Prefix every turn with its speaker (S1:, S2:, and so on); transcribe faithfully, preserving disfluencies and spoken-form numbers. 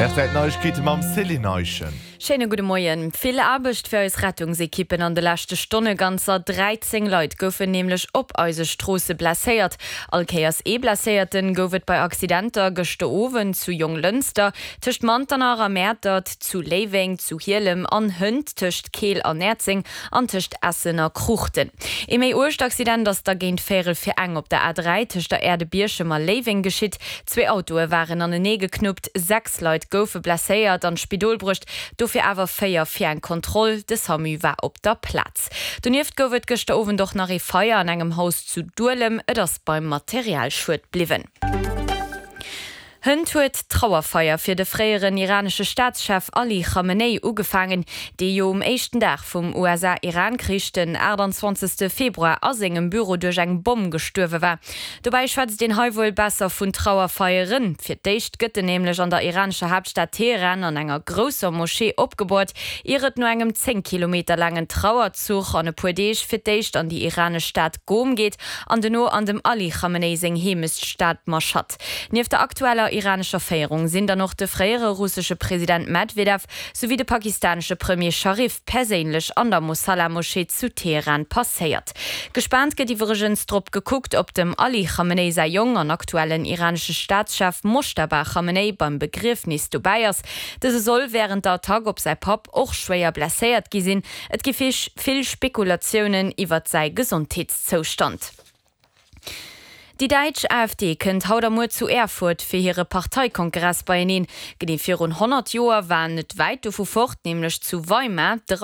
S1: R T L Neiegkeete mam Céline Eischen.
S2: Schéine gudde Moien. Vill Aarbecht fir eis Rettungsekippen an de leschte Stonne. Ganzer dräizéng Leit goufen nämlech op eise Stroosse blesséiert. All Kéiers ee Blesséierten gouf et bei Accidenter gëschter Owend zu Jonglënster, tëscht Manternach a Mäertert, zu Léiweng, zu Hielem an hënt tëscht Keel an Näerzeng an tëscht Essen a Kruuchten. Ee méi uergt Accident ass da géint véierel fir eng op der A dräi tëscht der Aire de Bierchem a Léiweng geschitt. Zwee Autoe waren anenee geknuppt, sechs Leit goufe blesséiert an d'Spidol bruecht, dofir awer véier fir eng Kontroll. De Samu war op der Plaz. Donieft gouf et gëschter Owend och nach ee Feier an engem Haus zu Duelem, et ass beim Materialschued bliwwen. Hënt huet d'Trauerfeier fir de fréieren iranesche Staatschef Ali Khamenei ugefaangen, dee jo um éischten Dag vum U S A-Iran-Krich, den aachtanzwanzegste Februar, a sengem Büro duerch eng Bomm gestuerwe war. Dobäi schwätzt een hei wuel besser vun Trauerfeieren. Fir d'éischt gëtt en nämlech an der iranescher Haaptstad Teheran an enger grousser Moschee opgeboort, ier et no engem zéng Kilometer laangen Trauerzuch an e puer Deeg fir d'éischt an déi iranesch Stad Ghom geet an duerno an dem Ali Khamenei seng Heemechtsstad Mashhad. Nieft der aktueller iranescher Féierung sinn dann och de fréiere russesche President Medwedew souwéi de pakistanesche Premier Sharif perséinlech an der Mosalla-Moschee zu Teheran passéiert. Gespaant gëtt iwwregens drop gekuckt, ob dem Ali Khamenei säi Jong an aktuellen iranesche Staatschef Moschtaba Khamenei beim Begriefnis dobäi ass. Dëse soll wärend der Attack op säi Papp och schwéier blesséiert gi sinn. Et gi vill Spekulatiounen iwwer säi Gesondheetszoustand. Déi däitsch A F D kënnt haut a muer zu Erfurt fir hire Parteikongress beieneen. Genee virun honnert Joer war net wäit dovu fort, nämlech zu Weimar, de